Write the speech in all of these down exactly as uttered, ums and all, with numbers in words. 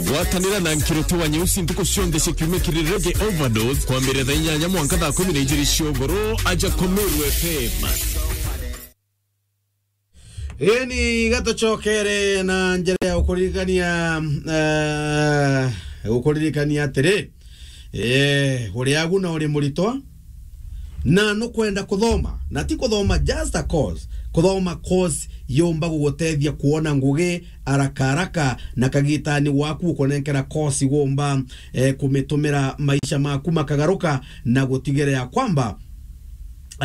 Gwatanira na Nkiriti wa Nyeusi ntuku cionthe cia kiumia kiri Reggae Overdose, kwambiria thaa inyanya mwanka thaa kumi na ijiri cia ugoro, aja Komeru F M. Ii ni gatucokere na njira ya gukuririkania, eh, gukuririkania atiri, eh, uri agu na uri muritwa, na nukwenda kuthoma, na ti kuthoma just a course, kuthoma course yumba gugutethia kuona ngugi haraka haraka, na kagitani waku ukunenkera course igumba, eh, kumitumira maisha maku makagaruka, na gutigira ya kwamba,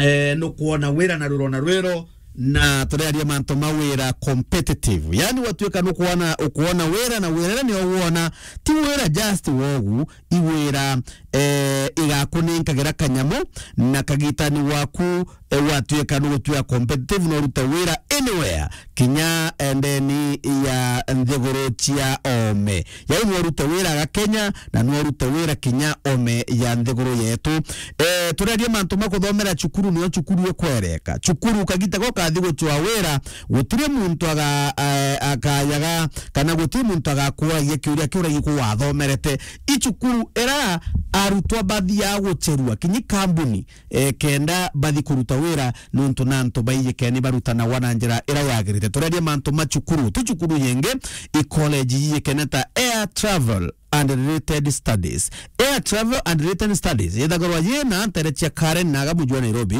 eh, nukwona wira na rwiro na rwiro, na turaria mantu ma wira competitive. Yani, watuika nukwona, ukwona wira, na wira ni uwona, ti wira just wogu, i wira, eh, igakunenkagira kanyamu, na kagitani waku, eh, watuika nugutuika competitive, no urute wira anywhere, kinya, eh, ndeni ya nthiguru cia oome. Yaani, nwarute wira ga Kenya, na nwarute wira kinya oome ya nthiguru yetu. Eh, turaria mantu ma kuthomera cukuru, nio cukuru ikwereka. Cukuru kagita gau kathi gucwa wira, gutiri muntu aga-, eh, akayaga, kana gutiri muntu agakuragia kiuria kiu uragi kuwathomerete. I cukuru ira arutwa bathiaga gucherua, kinyi kambuni, eh, kenda bathi kuruta wira, nontu na antu baijikene barutanagwa na njira ira yagirite. Turaria mantu ma cukuru, ti cukuru yingi, i college yijikene ta Air Travel and Related Studies. Air Travel and Related Studies yethagirwa yina ntere cia Karen na aga muji wa Nairobi,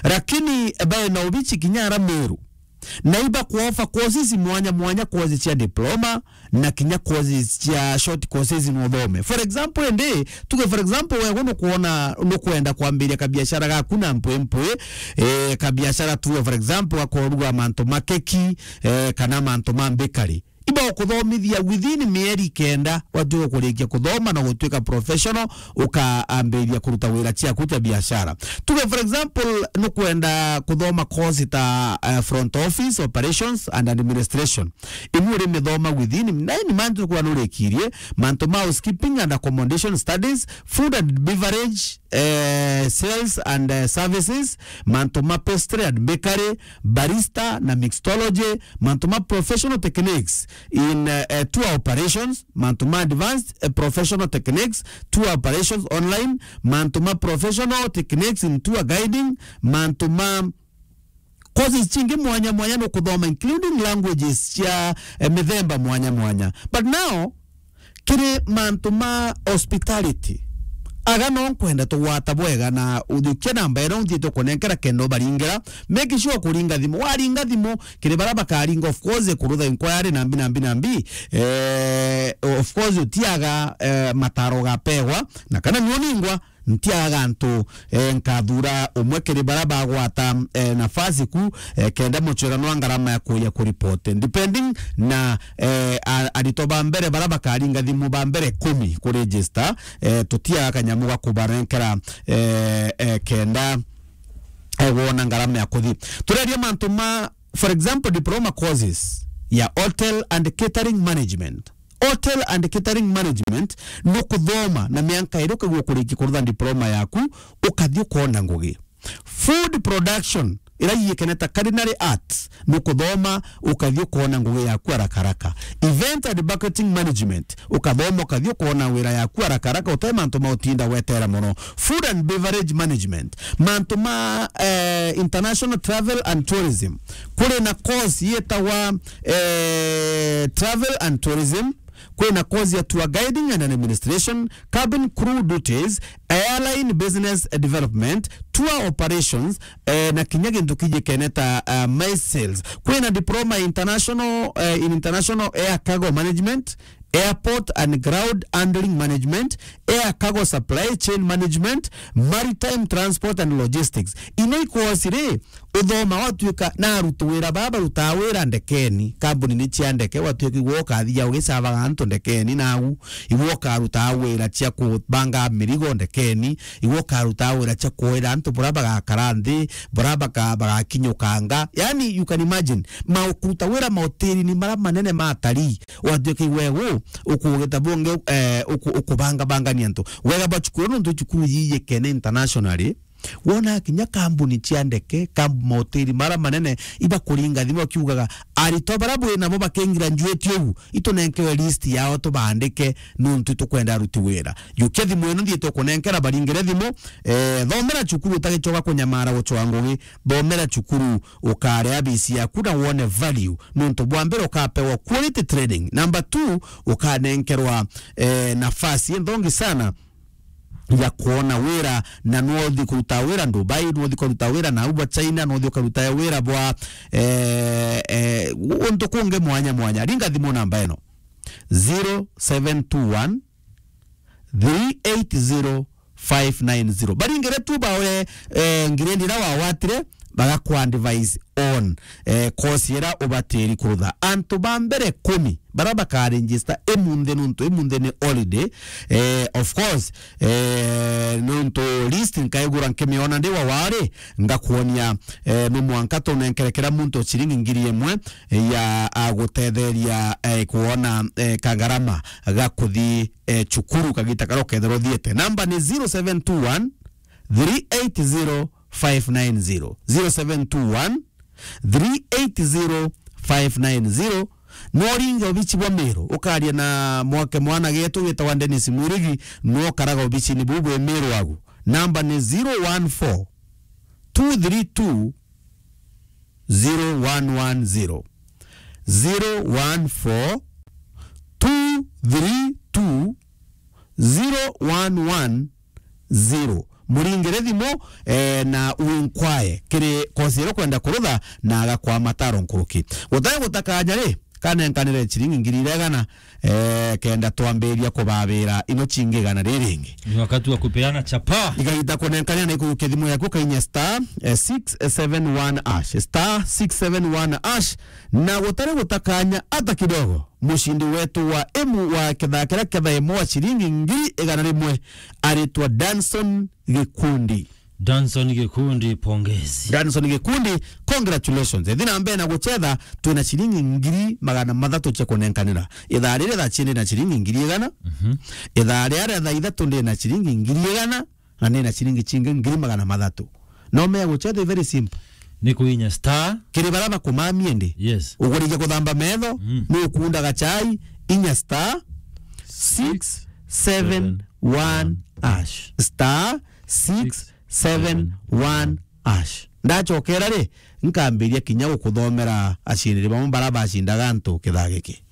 lakini baina obici kinya ara Meru. Na iba kuofa courses mwanya mwanya, courses cia diploma, na kinya courses cia short courses no uthome. For example, indi, tuge for example, wewe nukwona, nukwenda kwambiria kabiashara gaku na mpwi mpwi, eh, kabiashara tuge for example, gakoruga mantu ma keki, eh, kana mantu ma bakery. Iba ukuthomithia within mieri kenda, watuika kurikia kuthoma na gutuika professional, ukaambiria kuruta wira ciaku cia biashara. Tuge for example, nukwenda kuthoma course ta, eh, front office, operations and administration. Imwe urimithoma within nine months, ukwona nurikirie mantu ma housekeeping and accommodation studies, food and beverage, eh, sales and, eh, services, mantu ma pastry and bakery, barista na mixology, mantu ma professional techniques in, eh, eh, tour operations, mantu ma advanced, eh, professional techniques, tour operations online, mantu ma professional techniques in tour guiding, mantu ma courses cingi mwanya mwanya nukuthoma, including languages cia, eh, mithemba mwanya mwanya. But now, kiri mantu ma hospitality, aga no nkwenda tugwata bwega na uthiukia namba ino nthiite kunenkera kenda ubaringira. Make sure kuringa thimu. Waringa thimu, kiri baria bakaringa, of course, kurutha inquiry na mbi, na mbi, na mbi, eh, of course, utiaga, eh, mataro gapewa, na kana nio ningwa, ntiaga antu, eh, nkathura umwe kiri baria bagwata, eh, nafasi ku, eh, kenda mucwirano wa ngarama ya kuya kuripoti. Depending na, eh, a-, aritwa ba mbere baria bakaringa thimu ba mbere kumi ku register, eh, tutiaga kanyamu ga kubarenkera, eh, eh, kenda, eh, wona ngarama ya kuthi. Tureria mantu ma, for example, diploma courses ya hotel and catering management. Hotel and catering management nukuthoma na mianka iri ukagua kuriki kurutha diploma yaku, ukathi ukona ngugi. Food production, ira yiyikene ta culinary arts, nukuthoma ukathi ukona ngugi yaku haraka haraka. Event and banqueting management, ukathoma ukathi ukona wira yaku haraka haraka, utai mantu ma utinda wetera mono. Food and beverage management, mantu ma, eh, international travel and tourism. Kuri na course yetagwa, eh, travel and tourism, kwina course ya tour guiding and administration, cabin crew duties, airline business development, tour operations, eh, na kinya gintu kijikene ta, eh, MICE sales. Kwina diploma international, eh, in international air cargo management, airport and ground handling management, air cargo supply chain management, maritime transport and logistics. Ino i course ri, uthoma watuika na aruti wira baba barutaga wira ndekeni, kambuni ni cia ndeke, watuika igwe ukathia ugicabaga antu ndekeni, nau igwe ukarutaga wira cia kubanga mirigo ndekeni, igwe ukarutaga wira cia kuira antu buria bagakara nthi, buria baka-, bagakinyukanga. Yani, you can imagine, ma-, kuruta wira mahoteli-ini maria manene ma atarii, watuika igwe gu, ukugita bungi, eh, uku-, ukubanga bangania antu. Wega bwa cukuru, nontu cukuru yiyikene internationally, Wona kinya kambuni cia ndeke, kambu-, mahoteli mara manene, ibakuringa thimu bakiugaga, "Aritwa bara bwi nabo bakengira njueti ugu, itunenkewe list yao tubandike, nuntu itukwenda aruti wira." Jukia thimu ino nthiite kunenkera, baringire thimu, eh, thomera cukuru utagicoka kunyamara gucwa ngugi, thomera cukuru ukarea bisi yaku na wone value, nuntu bwa mbere ukapewa quality training. Number two, ukanenkerwa, eh, nafasi nthongi sana ya kuona wira, na nwothi kuruta wira Dubai, nwothi kuruta wira na bwa China, nwothi ukaruta wira bwa, eh, eh, untu kungi mwanya mwanya. Ringa thimu namba ino, zero seven two one, three eight zero, five nine zero. Baringire tu bawe, eh, ngirendi ira wawatire, bagaku advise on, eh, course ira ubatiri kurutha. Antu ba mbere kumi bara bakaregister imunthi, nuntu imunthi ni holiday. Eh, of course, eh, nuntu list nkaigura nkimiona ndi wa wari, ngakuonia, eh, no mwanka tunenkere kira muntu ciringi ngiri imwe ya agutetheria, eh, kuona, eh, kagarama ga kuthi, eh, cukuru kagita karia ukethirwa uthiete. Namba ni zero seven two one, three eight zero, five nine zero. Zero seven two one, three eight zero, five nine zero. No ringe obici bwa Meru, ukaria na mwake mwana getu witagwa Dennis Mwirigi, no karaga obicini buu bwi Meru agu. Namba ni zero one four, two three two, zero one one zero. Zero one four, two three two, zero one one zero. Muringire thimu, eh, na uinkwae kiri kosi iria ukwenda kurutha na agakwa mataro nkuruki. Gutari gutakanya ri, kanenkanire ciringi ngiri igana, eh, kenda twambiria kubabira ino cingi igana riringi. Ni wakati wa kupeana chapa. Igagita kunenkanira na ikurukia thimu yaku kainya star, eh, six seven one hash, star six seven one hash, na gutari gutakanya hata kidogo. Mucindi wetu wa imu wa kithaa kiria ketha imwe wa ciringi ngiri igana rimwe aritwa Danson Gikundi. Danson Gikundi, pongezi. Danson Gikundi, congratulations. Ethi na mbere na gucetha, twina ciringi ngiri magana mathatu cia kunenkanira. Ithaa riri thaa cini na ciringi ngiri igana. Mhm. Ithaa ria ria thaa ithatu ndi na ciringi ngiri igana, na ndi na ciringi cingi ngiri magana mathatu. No mea gucetha very simple. Ni kuinya star. Kiri bara bakumamia ndi. Yes. Ugurige kuthamba metho, mm, ni ukunda gachai, inya star six seven one hash. Star six seven one hash. Ndachokera ri, nkambiria kinya gukuthomera acindiri bamwe bara bacindaga antu kithaa giki.